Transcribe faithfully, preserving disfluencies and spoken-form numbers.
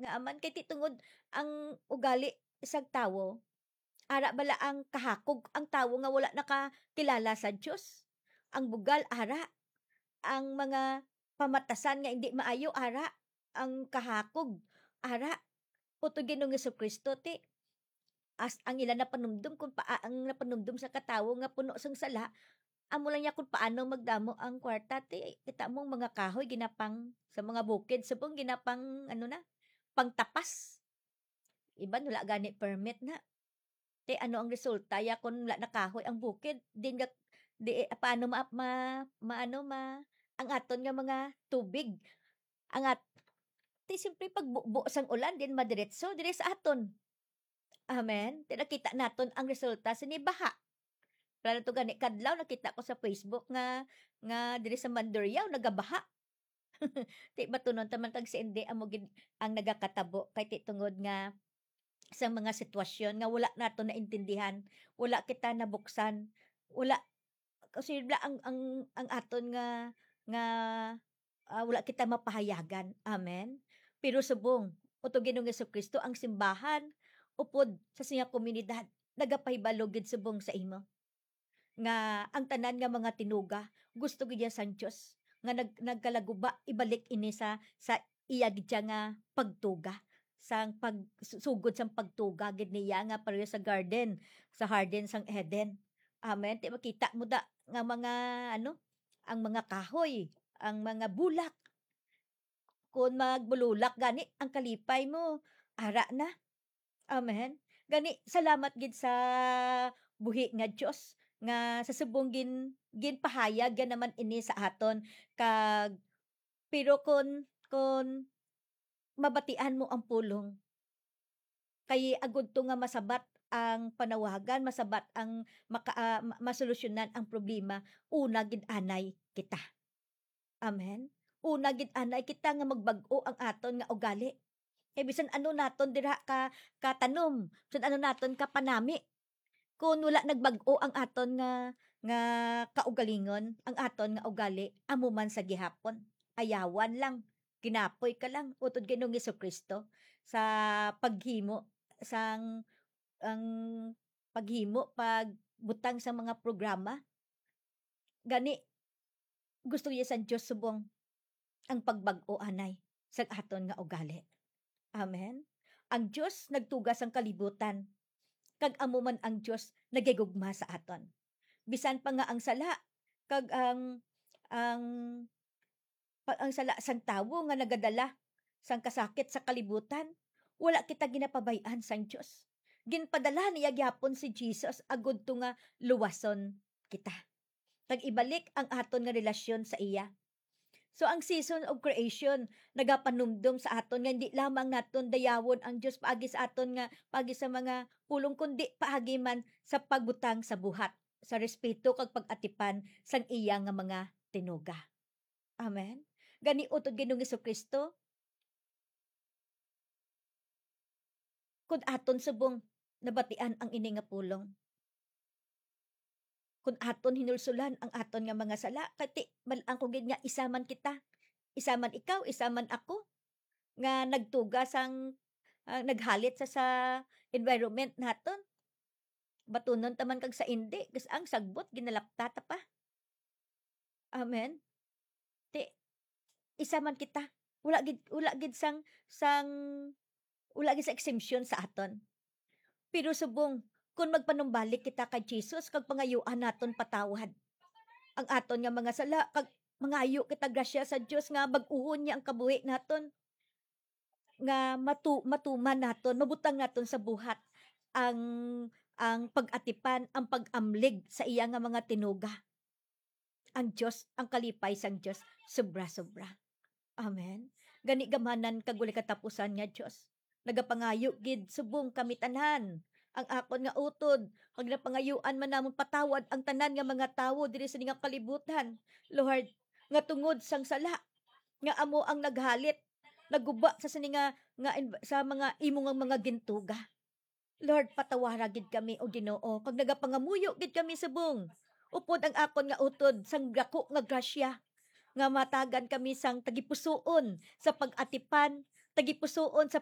nga aman, kay ti tungod ang ugali sang tawo, ara bala ang kahakog ang tawo nga wala nakakilala sa Dios. Ang bugal, ara. Ang mga pamatasan nga indi maayo, ara. Ang kahakog, ara. Utod Ginoong Jesu-Cristo, ti, as ang ila napanumdom, kung pa-, ang napanumdom sa katawo nga puno sang sala, amo lang niya kung paano magdamo ang kwarta, ti, kita mo ang mga kahoy, ginapang, sa mga bukid, subong ginapang, ano na, pangtapas. Iban, wala gani permit na. Ti, ano ang resulta ya kung wala na kahoy ang bukid? Din ga-, di, eh, paano ma-, ma-, ma-, ano, ma-, ang aton nga mga tubig? Ang at-, ti, siyempre, pag bu-, buo sang ulan, din madiretso, dire sa aton. Amen? Ti, nakita naton ang resulta sini, baha. Wala na to gani kadlaw, nakita ko sa Facebook nga, nga diri sa Mandurriao, nagabaha. Ti, batunon ta man kag si Inday amo gid ang nagakatabo, kay ti tungod nga sa mga sitwasyon nga wala nato naintindihan, wala kita nabuksan, wala, kasi bla ang, ang, ang aton nga, nga, ah, wala kita mapahayagan. Amen? Pero subong, utod Ginoong Jesu-Cristo, ang simbahan, upod sa siya komunidad, nagapahibalo gid subong sa imo. Nga ang tanan nga mga tinuga, gusto gid niya sang Dios, nga nag-, nagkalaguba, ibalik ini sa, sa iya gid siya nga pagtuga, sang pag-, su-, sugod sang pagtuga gid niya nga pareho sa garden, sa garden sang Eden. Amen. Ti makita mo da nga mga, ano, ang mga kahoy, ang mga bulak. Kon magbululak gani ang kalipay mo, ara na. Amen. Gani, salamat gid sa buhi nga Dios nga sa subong gin-, ginpahayag ya naman ini sa aton. Kag, pero kon, kon mabatian mo ang pulong, kay agud to nga masabat ang panawagan, masabat ang maka-, ah, ma-, masolusyonan ang problema, una gid anay kita. Amen. Una gid anay kita nga magbag-o ang aton nga ugali. Kay bisan ano naton dira ka, katanom, bisan ano naton kapanami, kun wala nagbag-o ang aton nga, nga kaugalingon, ang aton nga ugali, amo man sa gihapon. Ayawan lang, ginapoy ka lang, utod Ginoong Jesu-Cristo, sa paghimo sang, ang paghimo, pagbutang sa mga programa. Gani, gusto niya sa Dios subong ang pagbag-o anay sa aton nga ugali. Amen. Ang Dios nagtuga sang kalibutan, kag amo man ang Dios nagahigugma sa aton. Bisan pa nga ang sala kag ang, ang, pa-, ang sala sang tawo nga nagadala sang kasakit sa kalibutan, wala kita ginapabay-an sang Dios. Ginpadala niya gyapon si Jesus agud to nga luwason kita, kag ibalik ang aton nga relasyon sa iya. So, ang season of creation nagapanumdom sa aton nga hindi lamang naton dayawon ang Dios paagi sa aton nga, paagi sa mga pulong, kundi paagi man sa pagbutang sa buhat, sa respeto kag pag-atipan sang iya nga mga tinuga. Amen. Gani, utod Ginoong Jesu-Cristo, kun aton subong nabatian ang ini nga pulong, kun aton hinulsulan ang aton nga mga sala, kay ti, mal-, ang ko gid nga isa man kita, isa man ikaw, isa man ako, nga nagtuga sang, ah, naghalit sa, sa environment naton. Batunon ta man kag sa indi, gas ang sagbot, ginalapta ta pa. Amen. Ti, isa man kita. Wala gid, wala gid sang, sang, wala gid sa exemption sa aton. Pero subong, kung magpanumbalik kita kay Jesus, kag pangayuan naton patawad ang aton nga mga sala, kag mangayo kita grasya sa Dios nga bag-uhon niya ang kabuhi naton, nga matu-, matuman naton, mabutang naton sa buhat ang, ang pag-atipan, ang pag-amlig sa iya nga mga tinuga. Ang Dios, ang kalipay sang Dios, sobra-sobra. Amen. Gani, gamhanan kag walay katapusan nga Dios, nagapangayo gid subong kami tanan ang akon nga utod, kag napangayuan man namon patawad ang tanan nga mga tawo diri sa ning kalibutan, Lord, nga tungod sang sala nga amo ang naghalit, nagguba sa sini nga, nga inv-, sa mga imo nga mga gintuga. Lord, patawara gid kami, O Ginoo, kag nagapangamuyo gid kami subong upod ang akon nga utod sang dako nga grasya, nga matagan kami sang tagipusoon sa pag-atipan, tagipusoon sa